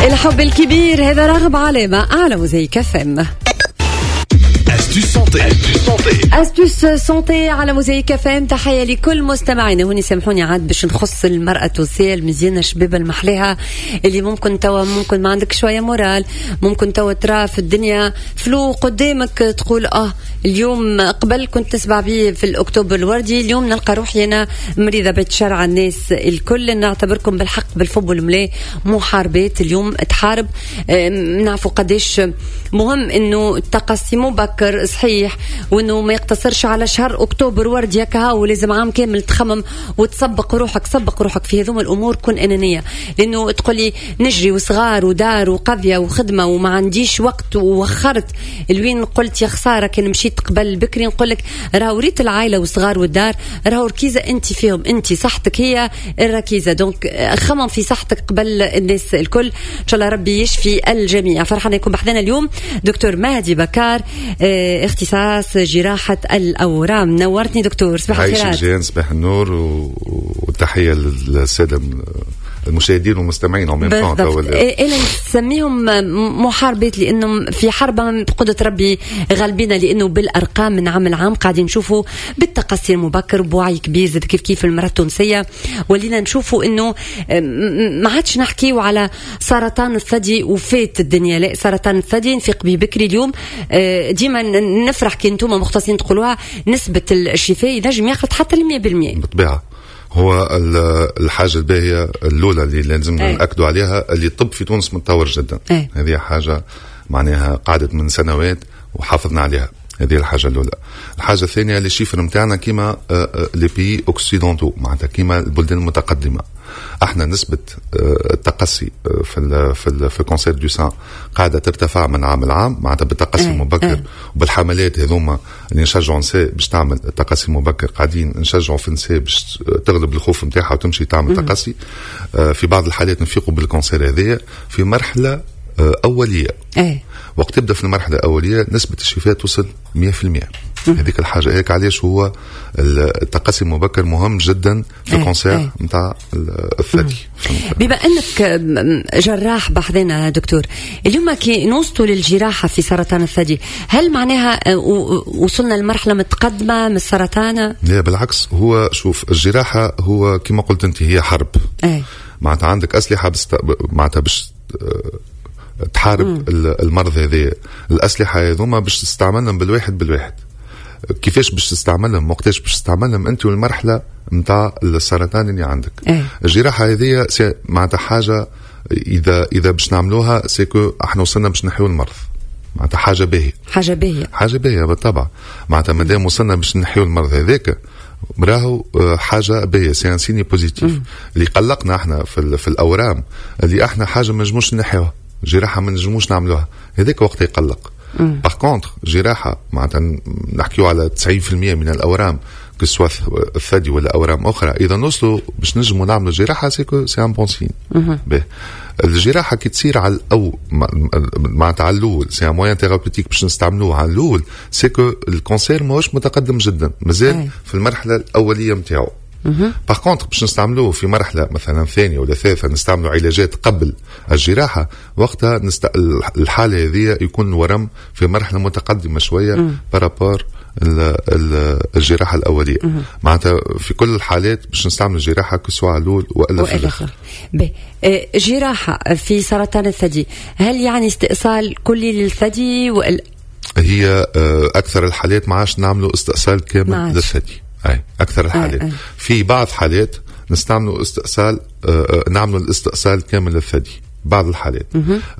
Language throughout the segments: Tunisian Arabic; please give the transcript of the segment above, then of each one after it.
الحب الكبير، هذا راغب علامة على موزايك اف ام. Astuce santé. Astuce santé. astuce santé على موزايك اف ام. تحية لكل مستمعينا. هوني سامحوني عاد باش نخص المراة التونسية المزيانه الشبابه المحلاها، اللي ممكن توا ممكن ما عندك شوية moral، ممكن توا ترى في الدنيا flou قدامك، تقول اليوم قبل كنت نسمع بيه في الاكتوبر الوردي، اليوم نلقى روحي انا مريضه. بتشرع على الناس الكل، نعتبركم بالحق بالفم والملا محاربات. اليوم تحارب، نعرفوا قداش مهم انه التقصي مبكر صحيح، وانه ما يقتصرش على شهر اكتوبر وردي هكا، ولازم عام كامل تخمم وتسبق روحك. سبق روحك في هذوما الامور، كن انانيه، لانه تقولي نجري وصغار ودار وقضية وخدمه وما عنديش وقت ووخرت الوين، قلت يا خسارة كان مشيت قبل بكري. نقول لك راهو ريت العائلة والصغار والدار راهو ركيزة انت فيهم، انت صحتك هي الركيزه، donc خمم في صحتك قبل الناس الكل. ان شاء الله ربي يشفي الجميع. فرحانة يكون بحذنا اليوم دكتور مهدي بكار، اختصاص جراحه الاورام. نورتني دكتور، صباح الخيرات. جيان، صباح النور والتحيه للسادة المشاهدين والمستمعين. بالضبط، انا نسميهم محاربات لانهم في حرب بقدره ربي غالبين، لانه بالارقام من عام لعام قاعدين نشوفوا بالتقصي المبكر بوعي كبير زاد كيف كيف المراة التونسيه، ولينا نشوفوا انه ما عادش نحكيو على سرطان الثدي وفات الدنيا، لا، سرطان الثدي نفيق به بكري. اليوم ديما نفرح كي انتم مختصين تقولوها، نسبه الشفاء ينجم ياخذ حتى ال 100%. بالطبيعه، هو الحاجة الباهيه الاولى اللي لازم ناكدوا عليها اللي الطب في تونس متطور جدا. هذه حاجة معناها قعدت من سنوات وحافظنا عليها. هذه الحاجة الاولى. الحاجة الثانيه، les chiffres نتاعنا كيما les pays occidentaux، معناتها كيما البلدان المتقدمه. احنا نسبه التقصي في ال cancer du sein قاعدة ترتفع من عام لعام، معناتها بالتقصي المبكر وبالحملات هذوما اللي نشجعوا نساء باش تعمل التقصي المبكر. قاعدين نشجعوا في النساء باش تغلب الخوف نتاعها وتمشي تعمل تقصي. في بعض الحالات نفيقوا بال cancer هذايا في مرحلة اوليه. وقت تبدا في المرحلة الاولية نسبه الشفاء توصل 100%. هذيك الحاجة هيك علاش هو التقصي المبكر مهم جدا في ال cancer نتاع الثدي. بما انك جراح بحذنا دكتور، اليوم كي نوصلوا للجراحه في سرطان الثدي، هل معناها وصلنا لمرحلة متقدمة من السرطان؟ لا بالعكس، هو شوف، الجراحة هو كما قلت انت هي حرب. معناتها عندك اسلحة معناتها باش تحارب المرض هذا. الاسلحة هذوما باش تستعملهم بالواحد بالواحد، كيفاش باش تستعملهم، وقتاش باش تستعملهم، انت والمرحلة نتاع السرطان اللي عندك. الجراحة هذه معناتها حاجة اذا باش نعملوها c'est que احنا وصلنا باش نحيو المرض، معناتها حاجة باهيه. حاجة باهيه. حاجة باهيه بالطبع، معناتها مادام وصلنا باش نحيو المرض هذاك راهو حاجة باهيه، c'est un signe positif. اللي قلقنا احنا في الاورام اللي احنا حاجة ما نجموش نحيوها، جراحه ما نجموش نعملوها، هذاك وقت يقلق. par contre جراحه معناتها نحكيو على 90% من الاورام، que ce soit الثدي ولا اورام اخرى، اذا نوصلوا باش نجموا نعملوا جراحه c'est que c'est un bon signe. الجراحة كي تصير على او معناتها على الاول، c'est un moyen thérapeutique باش نستعملوه على الاول، c'est que ال cancer ماهوش متقدم جدا، مازال في المرحلة الاولية نتاعو. par contre باش نستعملوه في مرحلة مثلا ثانية ولا ثالثه، نستعملوا علاجات قبل الجراحه، وقتها الحالة هذه يكون الورم في مرحلة متقدمة شوية par rapport الجراحة الاوليه. معناتها في كل الحالات باش نستعمل الجراحه، que ce soit على الاول والا في الاخر. جراحه في سرطان الثدي، هل يعني استئصال كلي للثدي وال هي اكثر الحالات ما عادش نعملوا استئصال كامل للثدي، اي اكثر الحالات. أي. في بعض حالات نستعملوا استئصال نعملوا الاستئصال كامل للثدي بعض الحالات.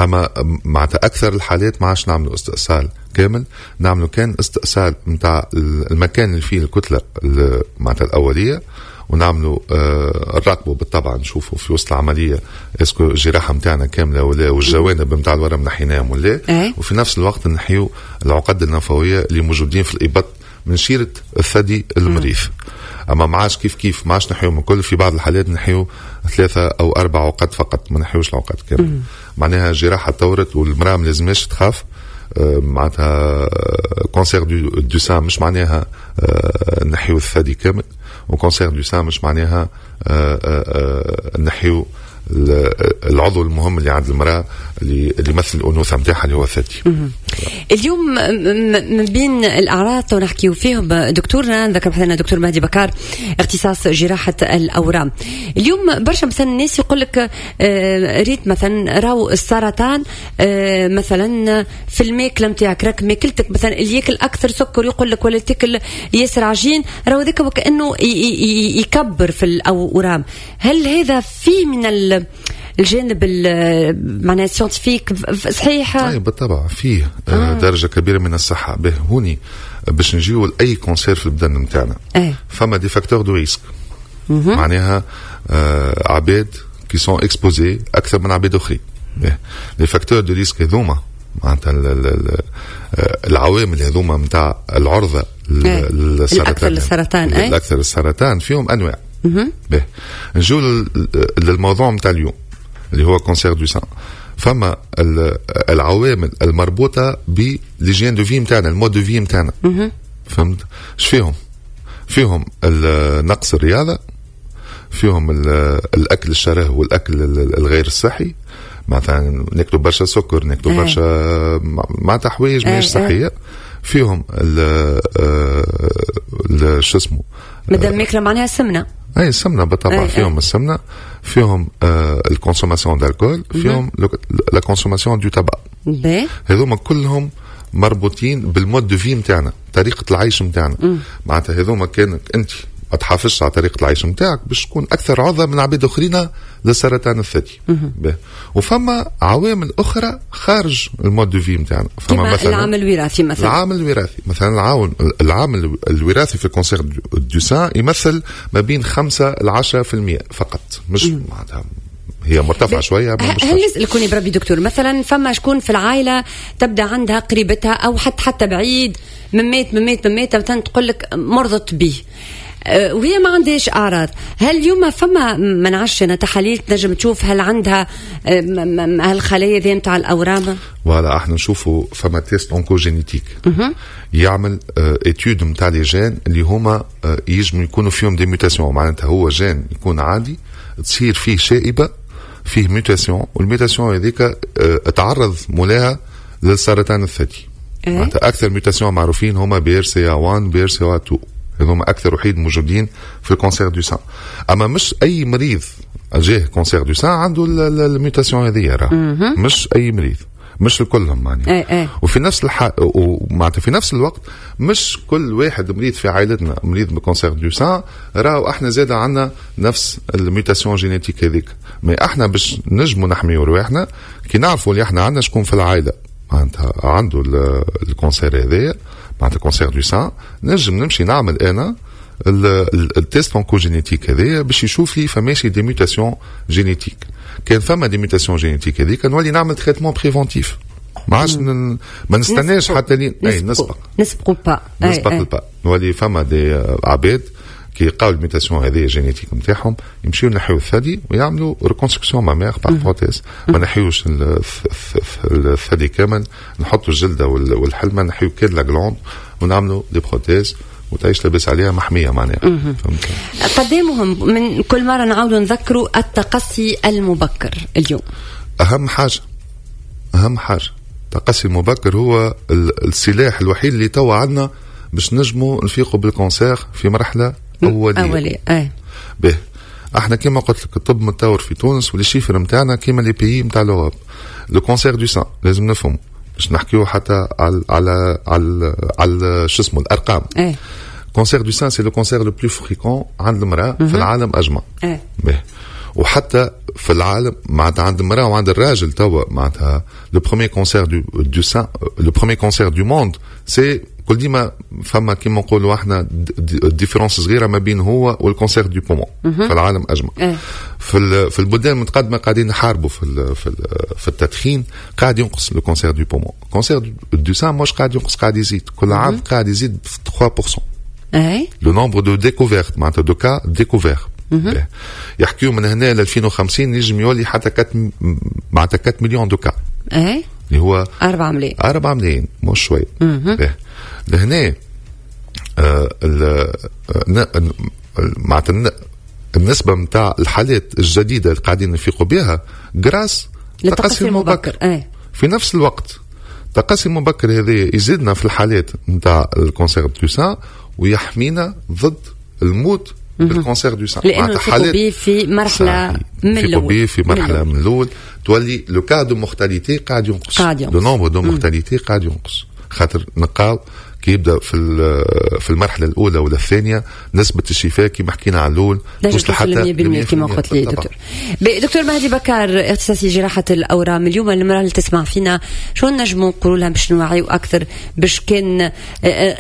اما معناتها اكثر الحالات ما عادش نعملوا استئصال كامل، نعملوا كان استئصال نتاع المكان اللي فيه الكتلة معناتها الاوليه، ونعملوا نراقبوا بالطبع، نشوفوا في وسط العملية est-ce que الجراحة نتاعنا كاملة ولا، والجوانب نتاع الورم نحيناهم ولا. وفي نفس الوقت نحيو العقد الليمفاويه اللي موجودين في الابط من شيره الثدي المريض. اما ما عادش كيف كيف، ما عادش نحيو من كل، في بعض الحالات نحيو ثلاثة او اربع عقد فقط، ما نحيوش العقد كامل. معناها الجراحة تطورت والمراة ما لازمش تخاف. معناتها cancer du sein مش معناها نحيو الثدي كامل، و cancer du sein مش معناها نحيو العضو المهم اللي عند المراة اللي يمثل الانوثة نتاعها اللي هو الثدي. اليوم من بين الاعراض ونحكيو فيهم دكتورنا، نذكر بحثنا دكتور مهدي بكار اختصاص جراحه الاورام. اليوم برشا مثلا الناس يقول لك ريت مثلا راهو السرطان مثلا في الماكلة نتاعك، راك ماكلتك مثلا اللي ياكل اكثر سكر يقول لك ولا تاكل ياسر عجين، راهو ذاك وكانه يكبر في الاورام. هل هذا فيه من الجانب معناها scientifique صحيح؟ اي بالطبع فيه درجه كبيرة من الصحة. به هوني باش نجيو لاي cancer في البدن نتاعنا فما des facteurs de risque، معناها عباد qui sont exposés اكثر من عباد اخرين. les facteurs de risque هذوما معناتها العوامل هذوما نتاع العرضة للسرطان، الاكثر للسرطان، الاكثر للسرطان فيهم انواع. به نجيو للموضوع نتاع اليوم اللي هو cancer du sein. فما العوامل المربوطه ب l'hygiène de vie نتاعنا، ال mode de vie نتاعنا، فهمت؟ اش فيهم؟ فيهم نقص الرياضه، فيهم الاكل الشره والاكل الغير الصحي، مثلا ناكلوا برشا سكر، ناكلوا برشا معناتها حوايج ماهيش صحيه. فيهم شو اسمه مادام ماكله معناها سمنه. اي السمنة بالطبع، فيهم السمنه، فيهم ال consommation d'alcool، فيهم la consommation du tabac. هذوما كلهم مربوطين بال mode de vie نتاعنا، طريقه العيش نتاعنا. معناتها هذوما كانك انت ما تحافظش على طريقه العيش نتاعك باش تكون اكثر عرضه من عباد اخرين للسرطان الثدي. وفما عوامل اخرى خارج ال mode de vie نتاعنا. فما مثلا العامل الوراثي مثلا. العامل الوراثي مثلا، العامل الوراثي في ال cancer du sein يمثل ما بين 5 ل 10% فقط، مش معناتها هي مرتفعة شويه. هل نسألكوني بربي دكتور، مثلا فما شكون في العائلة تبدا عندها قريبتها او حتى بعيد ممات ممات ممات مثلا تقول لك مرضت به وهي ما عندهاش اعراض، هل اليوم فما ما نعرفش انا تحاليل تنجم تشوف هل عندها هالخلايا ذي نتاع الاورام؟ voilà، احنا نشوفوا فما test oncogénétique يعمل étude نتاع les gènes اللي هما يجموا يكونوا فيهم des mutations، معناتها هو gène يكون عادي تصير فيه شائبة، فيه mutation، وال mutation هذيك تعرض مولاها للسرطان الثدي. معناتها اكثر mutations معروفين هما BRCA 1 BRCA 2، هذوما اكثر وحيد موجودين في ال cancer du sein. اما مش اي مريض جاه cancer du sein عنده ال mutation هذه، راه مش اي مريض، مش الكلهم معناها. وفي نفس معناتها في نفس الوقت مش كل واحد مريض في عائلتنا مريض ب cancer du sein راهو احنا زاد عندنا نفس ال mutation génétique هذيك. mais احنا باش نجموا نحميو رواحنا كي نعرفوا اللي احنا عندنا شكون في العائلة معناتها عنده ال cancer هذايا، معناتها cancer du sein، نجم نمشي نعمل انا ال test oncogénétique هذايا باش يشوف لي فماشي des mutations génétiques. كان فما des mutations génétiques هذيك نولي نعمل traitement préventif، ما عادش ما نستناش حتى لين اي نسبق نسبقوا pas نسبق ال pas. نولي فما des عباد كي يلقاو ال mutation هذه génétique نتاعهم يمشيو ينحيو الثدي ويعملوا reconstruction mammaire par prothèse. ما نحيوش الثدي كامل، نحطوا الجلدة والحلمه، نحيو كان la glande ونعملوا des prothèses وتعيش لاباس عليها محمية معناها. فهمت؟ قدامهم من كل مرة نعاودوا نذكروا التقصي المبكر اليوم. اهم حاجه، اهم حاجة التقصي المبكر هو السلاح الوحيد اللي توا عندنا باش نجموا نفيقوا بال cancer في مرحلة اوليه. اوليه اي. به احنا كما قلت لك الطب متطور في تونس و les chiffres نتاعنا كيما les pays نتاع l'Europe. le cancer du sein لازم نفهموا باش نحكيو حتى على شو اسمه الارقام. Cancer du sein c'est le cancer le plus fréquent عند المراة في العالم اجمع. به وحتى في العالم معناتها عند المراة وعند الراجل توا معناتها le premier cancer du sein، le premier cancer du monde c'est كل ديما فما كيما نقولوا احنا différence صغيرة ما بين هو وال cancer du poumon في العالم اجمع. في البلدان المتقدمة قاعدين نحاربوا في التدخين، قاعد ينقص le cancer du poumon. cancer du sein مش قاعد ينقص، قاعد يزيد كل عام، قاعد يزيد 3%. Le nombre de découvertes معناتها de cas découverts، يحكيو من هنا ل 2050 نجم يولي حتى 4 معناتها 4 millions de cas. اللي هو 4 ملايين. 4 ملايين مش شوي. لهنا معناتها النسبة نتاع الحالات الجديدة اللي قاعدين نفيقوا بها grâce للتقصي المبكر. في نفس الوقت التقصي المبكر هذا يزيدنا في الحالات نتاع ال cancer du sein ويحمينا ضد الموت بال cancer du sein. لانه نفيقوا به في مرحلة من الاول. في مرحلة من الاول تولي le cas de mortalité قاعد ينقص، le nombre de mortalité قاعد ينقص، خاطر نلقاو كي يبدا في المرحلة الاولى ولا الثانية نسبه الشفاء كما حكينا على الاول توصل حتى 100% كما قلت لي دكتور. دكتور مهدي بكار، اختصاصي جراحه الاورام، اليوم المراة اللي تسمع فينا شو نجموا نقولوا لها باش نوعيو اكثر، باش كان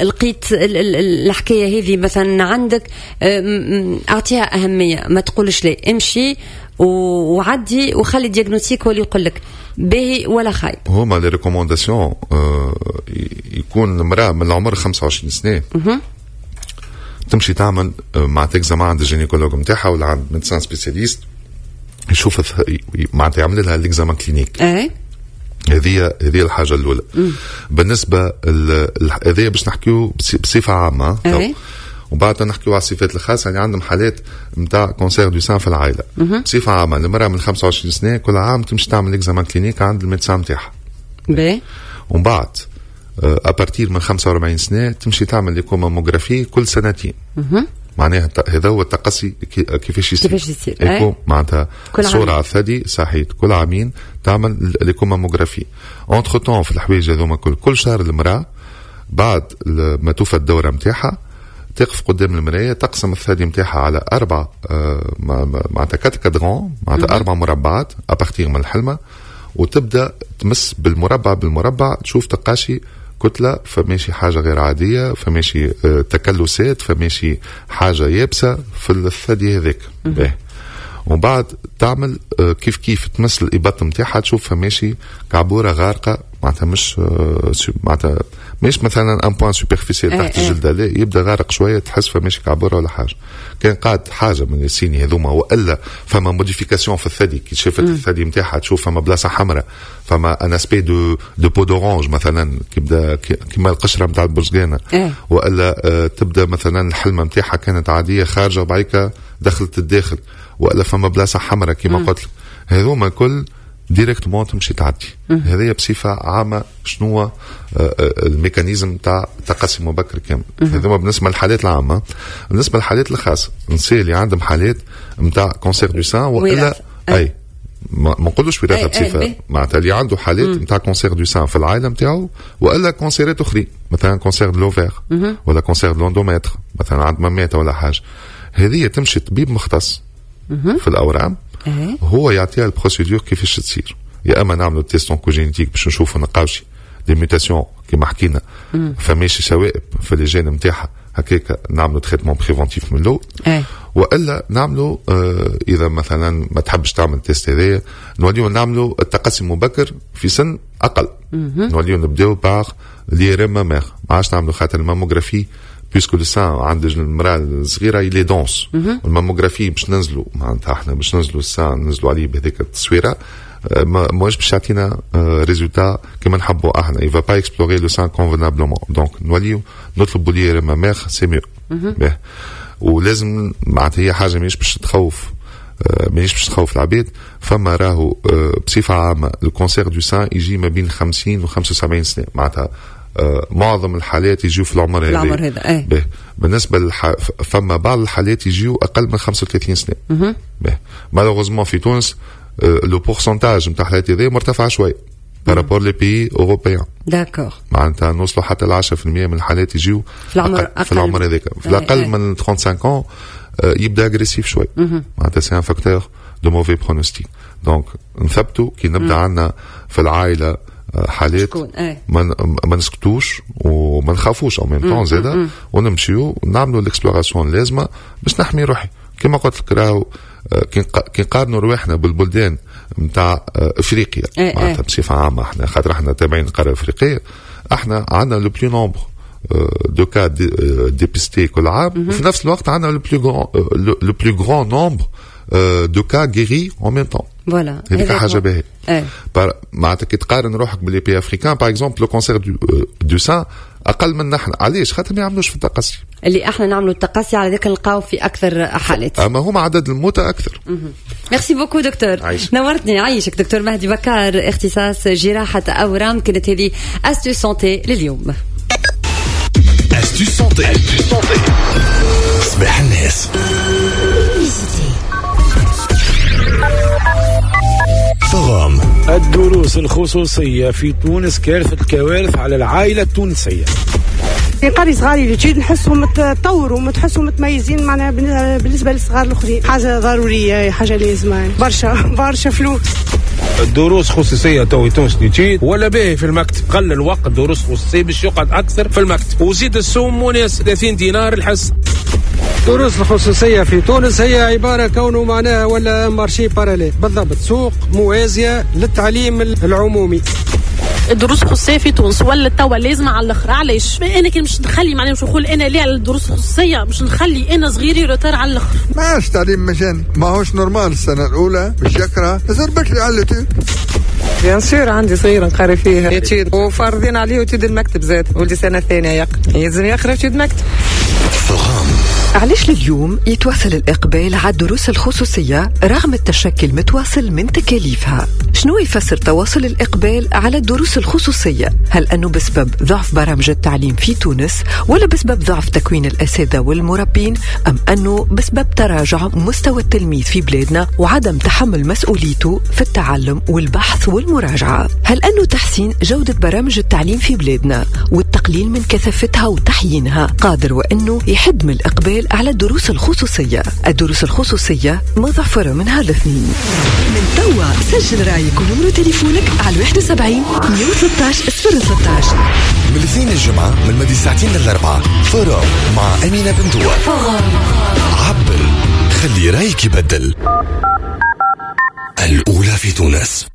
لقيت الحكاية هذه مثلا عندك اعطيها اهميه، ما تقولش لا، امشي وعدي وخلي diagnostic هو اللي يقول لك باهي ولا خايب. هما les recommandations يكون المراة من العمر 25 سنة تمشي تعمل معناتها examen عند ال gynécologue نتاعها ولا عند médecin spécialiste، يشوف معناتها يعمل لها l'examen clinique. هذه الحاجة الاولى. بالنسبة هذه باش نحكيو بصفة عامه، وبعد نحكيو على الصفات الخاصة اللي عندهم حالات نتاع cancer du sein في العائله. بصفة عامة المراة من 25 سنة كل عام تمشي تعمل examen clinique عند ال médecin نتاعها. ومن بعد à partir من 45 سنة تمشي تعمل l'écho-mammographie كل سنتين. معناها هذا هو التقصي كيفاش يصير. كيفاش يصير؟ ايكو معناتها صوره على الثدي، صحيح، كل عامين تعمل l'écho-mammographie. entre-temps في الحوايج هذوما كل شهر المراة بعد ما توفى الدورة نتاعها تقف قدام المرايه، تقسم الثدي نتاعها على اربع معناتها quatre quadrants، معناتها اربع مربعات à partir من الحلمه، وتبدا تمس بالمربع بالمربع، تشوف تلقاشي كتله، فماشي حاجة غير عاديه، فماشي تكلسات، فماشي حاجة يابسة في الثدي هذاك. ومن بعد تعمل كيف كيف تمس الابط نتاعها، تشوف فماشي كعبوره غارقه، معناتها مش معناتها مش مثلا un point superficiel تحت الجلده، لا، يبدا غارق شويه، تحس فماشي كعبوره ولا حاجه. كان قعد حاجة من ال signes هذوما والا فما modification في الثدي، كي شافت الثدي نتاعها تشوف فما بلاصة حمراء، فما un aspect de peau d'orange مثلا، كيبدا كيما القشرة نتاع البرتقانه، والا تبدا مثلا الحلمة نتاعها كانت عادية خارجه وبعيكه دخلت الداخل، والا فما بلاصة حمراء كيما قلت لك، هذوما كل directement تمشي تعدي. هذه بصفة عامة شنو ال mécanisme تاع تقصي مبكر كامل. هذوما بالنسبة للحالات العامه. بالنسبة للحالات الخاصه، النساء اللي عندهم حالات نتاع cancer du sein والا اي ما نقولوش وراثه بصفه، معناتها اللي عنده حالات نتاع cancer du sein في العائلة نتاعو والا cancer ات اخرين، مثلا cancer de l'ovaire ولا cancer de l'endomètre مثلا عند ماماتها ولا حاجه، هذه تمشي طبيب مختص في الاورام، هو يعطيها ال procédure كيفاش تصير. يا اما نعملوا test oncogénétique باش نشوفوا نلقاوش des mutations كيما حكينا، فماشي شوائب في les gènes نتاعها، هكاك نعملوا traitement préventif من الاول، والا نعملوا اذا مثلا ما تحبش تعمل test هذايا نوليو نعملوا التقصي المبكر في سن اقل، نوليو نبداو par l'IRM mammaire، ما عادش نعملوا خاطر ال mammographie puisque le sein عند المراة الصغيرة il est dense، ال mammographie باش ننزلوا معناتها احنا باش ننزلوا ال sein ننزلوا عليه بهذيك التصويره ماهوش باش يعطينا résultat كما نحبوا احنا، il va pas explorer le sein convenablement، donc نوليو نطلبوا l'IRM mammaire، c'est mieux. ولازم معناتها هي حاجة ماهيش باش تخوف العباد. فما راهو بصفة عامة ال cancer du sein يجي ما بين 50 و 75 سنه، معناتها معظم الحالات يجيو في العمر هذا. العمر هذا ايه. بالنسبة فما بعض الحالات يجيو اقل من 35 سنه. malheureusement في تونس le pourcentage نتاع الحالات هذه مرتفع شوي par rapport les pays européens. d'accord. معناتها نوصلوا حتى ل 10% من الحالات يجيو في العمر في العمر هذاك، في الاقل من 35 ans يبدا agressif شوي، معناتها c'est un facteur de mauvais pronostic. donc نثبتوا كي نبدا عندنا في العائلة حالات ما نسكتوش وما نخافوش en même temps زاده، ونمشيو نعملوا l'exploration اللازمة باش نحمي روحي. كما قلت لك راهو كي نقارنوا رواحنا بالبلدان نتاع افريقيا معناتها بصفة عامة احنا خاطر احنا تابعين القارة الافريقيه، احنا عندنا le plus nombre de cas dépistés كل عام، وفي نفس الوقت عندنا le plus grand nombre de cas guéris en même temps. voilà، هذيك حاجة باهيه. معناتها كي تقارن روحك ب les pays africains، par exemple le cancer du sein اقل من نحن. علاش؟ خاطر ما يعملوش في التقصي. اللي احنا نعملوا التقصي، على ذاك نلقاو في اكثر حالات. اما هما عدد الموتى اكثر. merci beaucoup docteur. عايشك. نورتني، عايشك دكتور مهدي بكار، اختصاص جراحه اورام. كانت هذه astuce santé لليوم. astuce santé، astuce santé، صباح الناس forum. الدروس الخصوصية في تونس كارثة الكوارث على العائلة التونسية. نقري صغاري l'étude، نحسهم تطوروا وتحسهم متميزين، معناها بالنسبة للصغار الاخرين حاجة ضروريه، حاجة لازمه، برشا برشا فلوس. الدروس خصوصية تو تونس l'étude ولا باهي في المكتب، قل الوقت دروس خصوصية باش يقعد اكثر في المكتب، وزيد السوم مناسب 30 دينار الحصة. الدروس الخصوصية في تونس هي عبارة كونه معناها ولا marché parallèle، بالضبط سوق موازية للتعليم العمومي. الدروس الخصوصية في تونس ولا توا لازمه على الاخر. علاش؟ انا كي مش نخلي، معناها مش نقول انا ليه على الدروس الخصوصيه، مش نخلي انا صغيري retard على الاخر. ماش تعليم مجاني، ماهوش normal. السنة الاولى باش يقرا زر بكري على l'étude. bien sûr عندي صغير نقري فيه étude وفارضين عليه étude المكتب زاد، ولدي سنة ثانية يقرا، يلزم يقرا étude مكتب. علاش لليوم يتواصل الإقبال على الدروس الخصوصية رغم التشكي المتواصل من تكاليفها؟ شنو يفسر تواصل الإقبال على الدروس الخصوصية؟ هل أنه بسبب ضعف برامج التعليم في تونس، ولا بسبب ضعف تكوين الأساتذة والمربين، أم أنه بسبب تراجع مستوى التلميذ في بلادنا وعدم تحمل مسؤوليته في التعلم والبحث والمراجعة؟ هل أنه تحسين جودة برامج التعليم في بلادنا والتقليل من كثافتها وتحيينها قادر وأنه يحد من الإقبال على الدروس الخصوصية؟ الدروس الخصوصية مضافرة من هذا الاثنين. من توا سجل رايك ونمرة تليفونك على 71 113 013. من الاثنين الجمعة من مدي ساعتين للأربعة، forum مع أمينة بندوة. عبر، خلي رايك يبدل. الأولى في تونس.